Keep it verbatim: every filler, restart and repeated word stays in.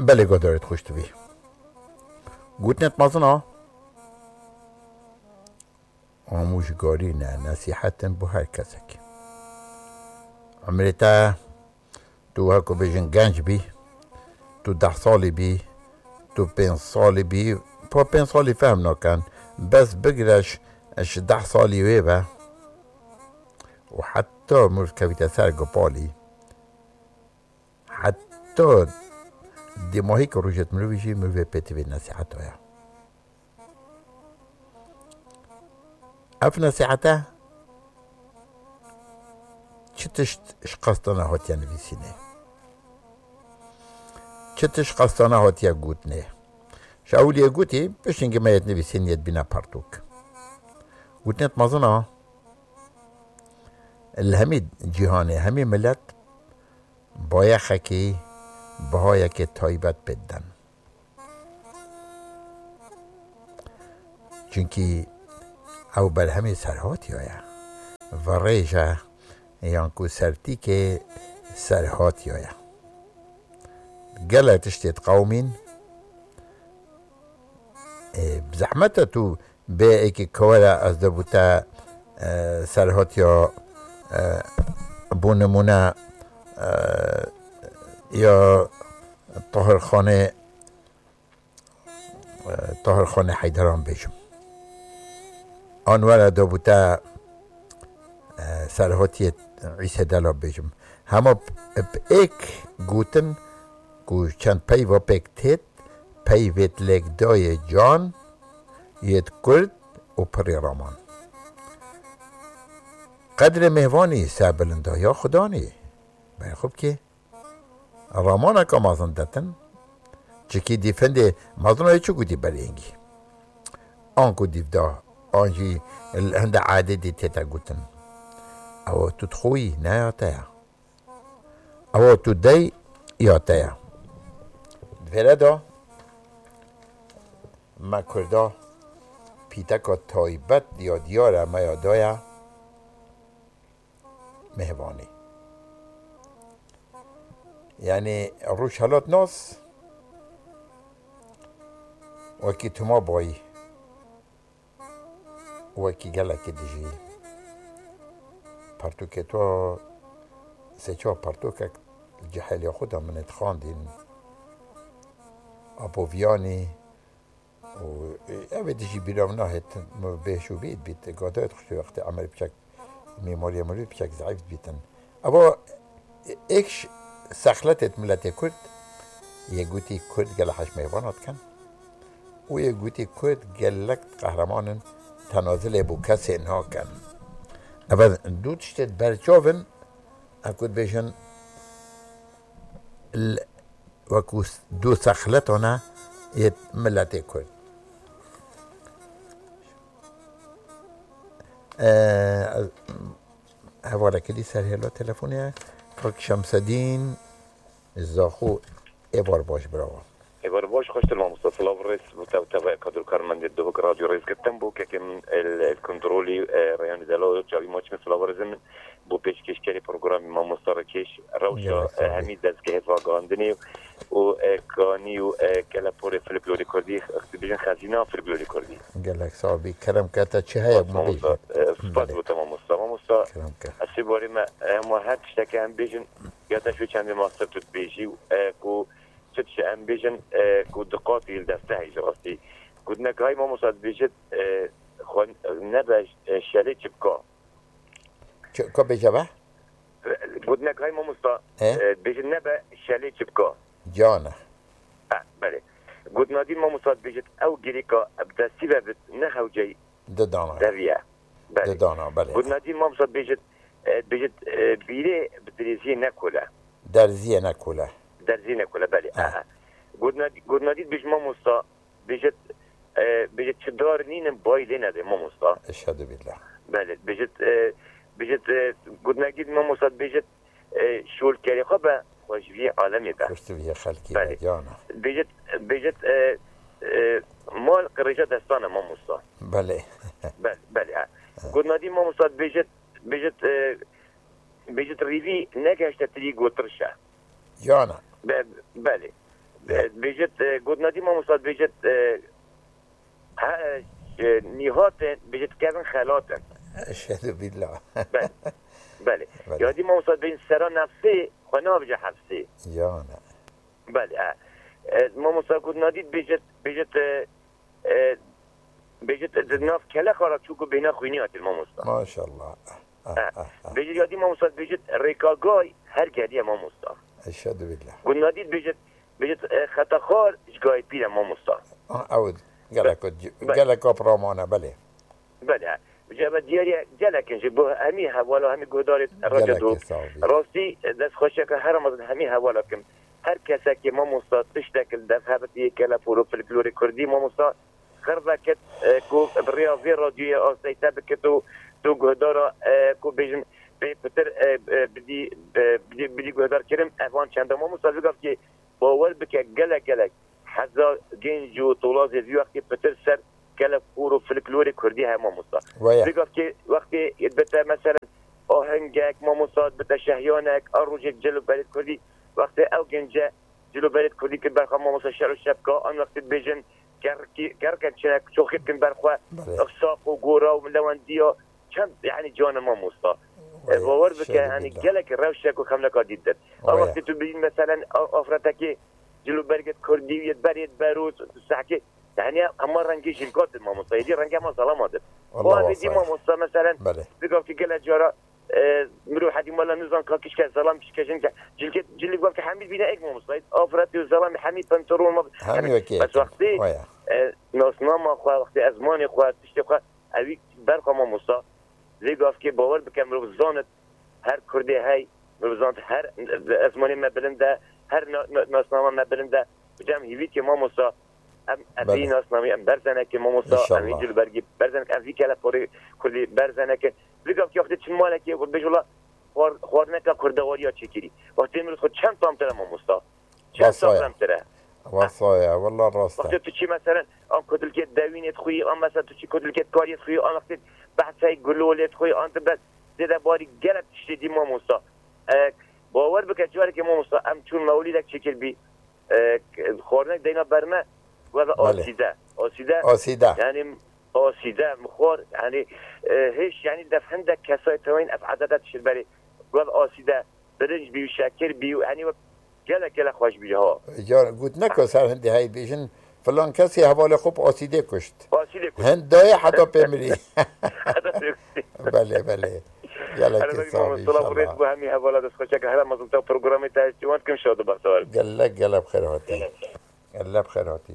Belê, godarê xweş dibî. Gotinê mezin a, amûjgarî ne, nesîhet in bo her kesek. Emrê te, tu wek ku bêjin genc bî, tu deh salî bî, tu pênc salî bî, pa pênc salî fehm nakin. Bes bigire ji, ji deh salî wê ve û heta mirov kevîte ser gopalî, heta dêmahî ku rojêt mirovî jî mirovê pê tivê nesîheta ye. Ev nesîhete çi tişt ji qestana hatiye nivîsînê? Çi tişt qestana hatiye gotinê? Ji ewiliyê gotî, piştî hingê me yê nivîsîn yê dibîne pertûk. Gotinê mezin a, li hemî cîhanê, hemî milet bayexekî, bihayekê taybet pê didin. Çunkî ew berhemê serhatiya ye. Virêj e yan ku sertîkê serhatiya ye. Gelek tiştê diqewimîn. Ê, bi zehmet e tu bê êkî kewera ez de bû te, e, serhatiya, e, bû nimûne, e, ya Tahirxanê, e, Tahirxanê Heyderan bêjim. An were de bû te, e, serhatiyê Îse Dela bêjim. Hema p-, p-, êk gotin ku çend peyva pêk têt, peyvêt lêk dayê can, yêt kurd û pirê raman. Qedrê mêvanî serbilinda ya xudanî. Berê xwe bikê. Ramaneka mezin detin, çikî dîfindê mezinoyê çi gotî berêngî? Anku dîvda, an jî li hinde ededî tête gotin. Ew tu dixwî, ne ya te ya. Ew tu dey ya te ya. Di vêre de me Kurda pîteka taybet ya diyar e me ya daya. Mêvanî. Yanî rojhelatnas wekî tu ma bayî, wekî gelekî dijî. Pertûkê to sê çar pertûkek li cihêliya xwe de min ê dixwandîn. Apo Viyanî, û, e, ev ê dijî bîra min nahêt, min bêş û bît bît, gadayet xuştê wextê emer biçek, mîmariya mirî biçek zeîf dibîtin. Eva, e, êk ş-, sexletêt miletê Kurd, yê gotî Kurd gelek hej mêvana dikin û yê gotî Kurd gelek qehreman in, tenazilê bo kesê nakin. Eva du tiştêt berçav in, ev ku dibêjin, l-, wekû s-, du sexletane yê miletê Kurd. Ee, ez, hevalekî dî ser hêla telefonê ye. Kak Şemsedîn Zaxo, êvar baş, bravo. Êvar baş, xweştir mamosta. Silav rêz bo te û tevaya kadro karmendê Duhok Radyo Rêzgirtin, bo kekê min el, el kontrolî, e, Reyhanî Delo, çavî maçî min silav rêzin. Bo pêşkêşkerê programê mamosta Rikeş, rewşa, Gelek sağ ol. E, hemî dezgehê ragihandinê û, e, kanî û, e, keleporê folklorê kurdî, dibêjin xezîna folklorê kurdî. Gelek sağ ol. Kerem ke te çi heye? Spas mamosta, e, spas Belê. Bo te mamosta. Mamosta, Kerem ke. Ez sê barê me, e, hema her tiştekê em bêjin, ya te şû çendê master tu dibêjî û, e, ku çi tişt em bêjin, e, ku diqatî li destehê ji rastî. Gotinek hay mamosta dibêjit, e, xwe nebe, e, şelê çipka. Çi, ka bêje be? Gotinek hay mamosta, He? e, dibêjit nebe şelê çipka. Can e. Ha, belê. Gotina dî mamosta dibêjit ew girêka bi destî ve bit ne hewceyî Didana. Deviye. Belê. Didana, belê. Gotina dî mamosta dibêjit, e, dibêjit, e, bîrê bi dirêziyê nekole. Derziyê nekole. Derziyê nekole, belê. Ha. Aha. Gotina dî, gotina dî dibêjit mamosta, bêjit, e, bêjit çi dar nînin bayî lê nedê mamosta. Eşhedü billah. Belê, bêjit, e, bêjit, e, gotinekî dî mamosta dibêjit, e, şolkerê xwe be, xwe ji vî alemê be. Xweş tu vî xelkî Belê. Be, yana. Bêjit, bêjit, e, e, mal qirêja destan e mamosta. Belê. Be-, belê, ha. Ha. Gotina dî mamosta dibêjit, bêjit, e, bêjit rîvî negehişte tirî gotirş e. Yana. Be-, belê. E, dibêjit, e, got nadî mamosta, dibêjit, e, he, e, nîhatin, dibêjit kevin xelatin. Eşhedü billah. Belê. Belê. Belê. Yadî mamosta dibêjin sera nefsê, xwe nabêje hefsê. Yana. Belê, e. E, mamosta got nadî dibêjit, dibêjit, e, e, dibêjit di nav kelexa ra çû ku bêhna xwînî hatin mamosta. Maşallah. Ah, E, ah, ah. Dibêjit yadî mamosta dibêjit rêkagay her geliye mamosta. Eşhedü billah. Got nadî dibêjit, dibêjit, e, xeta xar ji gayê pîr e mamosta. Ah, ew gelek, Be-, be- gelek apramane, belê. Belê. Ji eve diyariye gelek in ji bo hemî hevala, hemî guhdarê Radyo Gelek Dû. Sağ ol. Rastî, e, dest xweşeke her mezin hemî hevala kim. Her kesekê mamosta tiştek li dest hebitî kele poro folklorê kurdî mamosta xir vekit, e, ku bi rêya vê radyoyê asteyî te bikit û tu guhdara, e, ku bêjin pê pitir, e, e, bidî, e, bidî, bidî guhdar kirin, evan çenda mamosta vê gavkê bawer bike gelek gelek heza genc û tolazê vî wextê pitir ser kele poro folklorê kurdî heye mamosta. Waya. Vê gavkê wextê bite meselen ahengek mamosta bite şehyanek a rojê cil û berê kurdî wextê ew gence cil û berê kurdî kir berxwe mamosta şer û şepka an wextê dibêjin kerkî, kerken çinek çoxî bikin berxwe Belê. Saq û gora û lewendiya çend yani canin mamosta. Waya, E, bawer bike şehîdî hani billah. Gelek rewşek û xemleka dît dir. A Waya. Wextê tu bîn meselen a-, afretekê cil û bergê kurdî û yê berê bero tu sehkê yani hema rengê jilka dir mamosta. Yedî rengê hema zelama dir. Allah O evê dî wasay. Mamosta meselen Belê. Vê gavkê gele cara, e, mirov hedî mala nizan ka kişke zelam kişke jin ke cilkê cilî gavkê hemî bîne ek mamosta. Afret û zelam hemî pantolon ma Hemî wekî Bes yekî. Wextê, Waya. E, nasnama xwe, wextê ezmanê xwe, tiştê xwe, evî berxa mamosta. Vê gavkê bawer bike mirov zanit her kurdê hey, mirov zanit her ezmanê me bilind e, her na-, na-, nasnama me bilind e. Bi cem hîvîtê mamosta, em, em Belê. Vî nasnamî, em berzenekê mamosta, em vî İnşallah. Cilbergî berzenek, em vî keleporê kurdî berzeneke. Vî gavkê wextê çin malekê, bêj wela xwar-, xwarneka kurdewariya çêkirî. Wextê mirov xwe çend tamtir e mamosta. Çend Wasaya. Safrem tire. Wasaya, wallah rast e. Wextê tu çî meselen, an kudilkê dewînê dixwî, an mesela tu çî kudilkê kariyê dixwî, an wextê behsey gulolê dixwî, an tu bes zêde barî gelek tiştê dî mamosta. E, bawer bike, carekê mamosta, em çûn mewlîdek çêkir bî, e, xwarinek deyna ber me, weve Belê. Asîde. Asîde, Asîde. Yani, asîde, mixwar, yani, e, hêş, yani, def hindek kesay tewên ev edede tişt berê. Weve asîde. Birinc bî û şekir bî û henî wek gelek gelek xweş bî ha. Ya, got ne ku ser hindê hey bêjin, filan kesê hevalê xwe bi asîdê kuşt. Asîdê kuşt. Hind dayê heta pê mirî. Heta pê mirî. Belê, belê. Gelekî Hele sax bî, mamosta, inşallah. Rêz bo hemî hevala dest xweşeke. Hele mezin te programê te ciwan dikim, şad û bextewar bî. Gelek, gelek bi xêr hatî. Gelek bi xêr hatî.